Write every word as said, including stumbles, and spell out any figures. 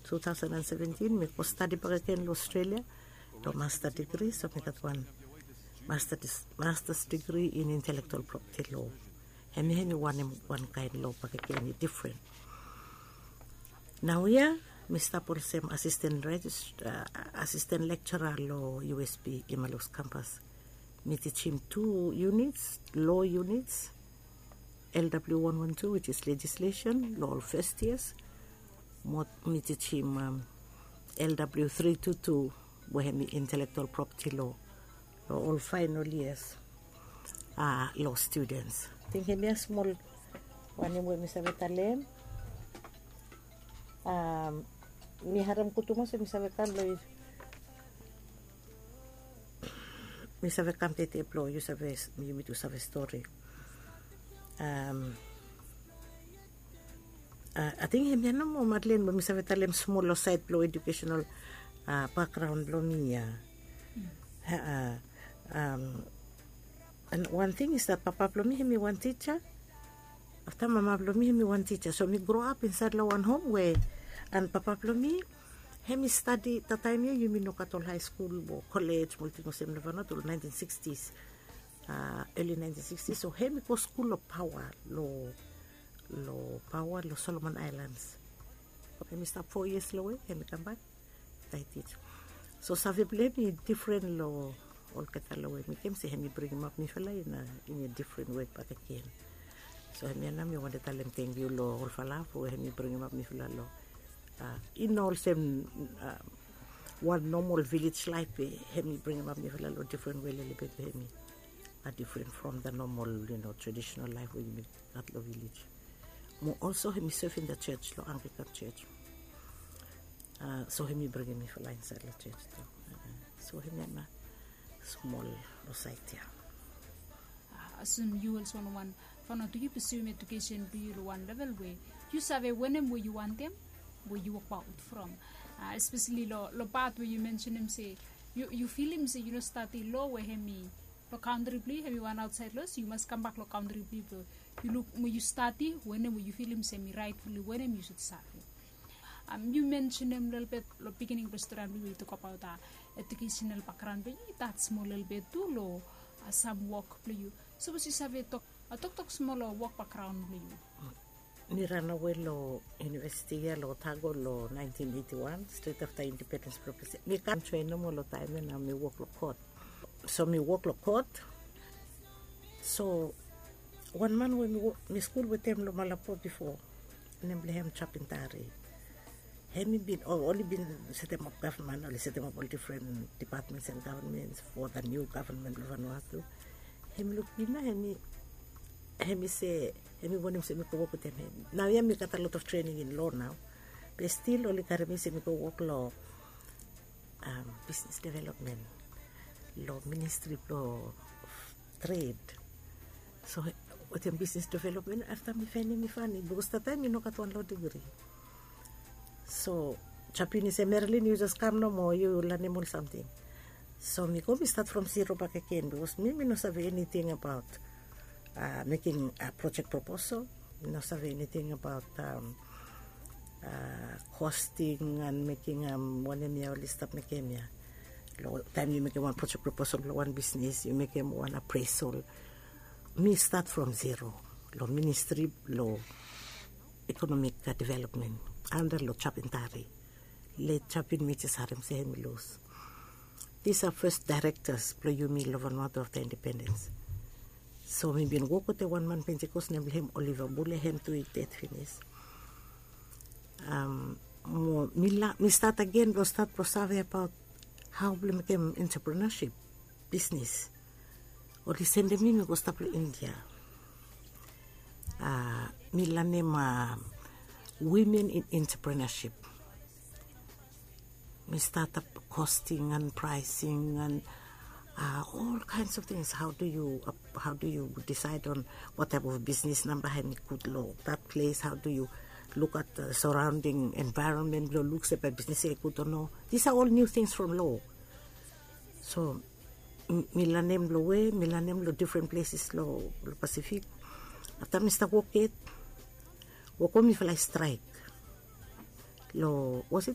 Two thousand and seventeen mi go stadi bakegen long Australia long master degree, so mi gat wan master, master's degree in intellectual property law. Hemi hemi wanem wan kaen law bakegen i different. Naoia mi stap olsem assistant regist, uh, assistant lecturer long U S P Imalus campus. Mi tijim two units, law units, L W one one two, which is legislation, long ol first years. Mo mi tijim um, L W three two two, we hemi intellectual property law, long ol final years, uh, law students. Ating hemia smol wanem we mi save talem. Um, mi harem gud tumas we mi save kam long mi save kam tete blong yu save, yumi tu save stori. Um, uh, ating hemia nomo, Madeleine, we mi save talem smol long saed blong educational, uh, background blong mi ia. Uh, um, and one thing is that papa blong mi hemi wan tija. Afta mama blong mi hemi wan tija, so mi grow up insaed long wan hom we, and papa blong mi hemi stadi, that taem ia yumi no gat ol high school o college mo olting olsem long Vanuatu long nineteen sixties, uh, early nineteen sixties. So hemi go skul long Pawa, long, long Pawa, long Solomon Islands. Hemi stap four years long we hemi kambak. Taitij. So save blong hem i different long olgeta long we mi kem se hemi bringim ap mifala in a, in a different way bakegen. So hemia nao mi wantem talem tangkiu long olfala blong we hemi bringim ap mifala long, uh, i no olsem, uh, wan normal village life we hemi bringim ap mifala long different way lelebet we hemi a different from the normal, you know, traditional life we yumi gat long village. Mo also hemi serve in the church, long Anglican church. Uh, so hemi bringim mifala insaed long church tu. Uh, so hemia nao smol long saed ia. Uh, asem yu olsem wan, wan Vanuatu, yu pursuem education blong yu long wan level we yu save wanem we yu wantem, we yu wokbaot from. Uh, especially long, long pat we yu mensenem se yu, yu filim se yu no stadi law we hemi long kantri blong yu, hemi wan aotsaed law, so yu mas kambak long kantri blong yu blong yu luk mo yu stadi wanem we yu filim se hemi rightfully wanem yu sud save. Um, yu mensenem lelebet long beginning blong stori blong yu we yu tokbaot, uh, educational background blong yu, i touch smol lelebet tu long, uh, sam wok blong yu. Sapos yu save tok, uh, toktok smol long wok background blong yu. Mi ranawe long university ia long Otago long nineteen eighty-one, stret afta independens blong Pacific. Mi kam joen nomo long taem ia nao mi wok long kot. So mi wok long kot. So wan man we mi wok, mi skul wetem long Malabo bifo, nem blong hem Chapintari. Hemi bin, o, oli bin setemap gavman, oli setemap ol different departments and governments for the new government blong Vanuatu. Hemi luk mi nao, hemi, hemi se, hemi wantem se mi go wok wetem hem. Naoia mi gat a lot of training in law nao. Be stil oli karem mi se mi go wok long, um, business development long ministry blong trade. So wetem business development, afta mi faenem i fani, bikos that taem mi no gat wan law degree. So Chapini se, "Marilyn, yu jes kam nomo, yu lanem ol samting." So mi go, mi stat from zero bakegen, bikos mi, mi no save eniting abaot, uh, mekem, uh, project proposal. Mi no save eniting abaot, um, uh, costing and mekem, um, wanem ia oli stap mekem ia. Long taem yu mekem wan project proposal long wan bisnis, yu mekem wan appraisal. Mi stat from zero long ministri blong economic, uh, development anda long Chapintari. Let Chapin mi jes harem se hemi lus. Disa fes daerektas blong yumi long Vanuatu afta independens. So mi bin wok wetem wan man Pentikos nem blong hem Oliva Bule, hem tu i ded finis. Um, mo mi la, mi stat agen blong stat blong save abaot hao blong mekem entrepreneurship bisnis. Oli sendem mi, mi go stap long India. Uh, mi lanem, uh, women in entrepreneurship. Mi start up costing and pricing and, uh, all kinds of things. How do you, uh, how do you decide on what type of business nao bae hem i gud long that place? How do you look at the surrounding environment blong luk se bae bisnis ia i gud o no? These are all new things from law. So mi lanem long we, mi lanem long different places long Pacific. Afta mi stap wok yet, wok we mifala i straek. Long, was it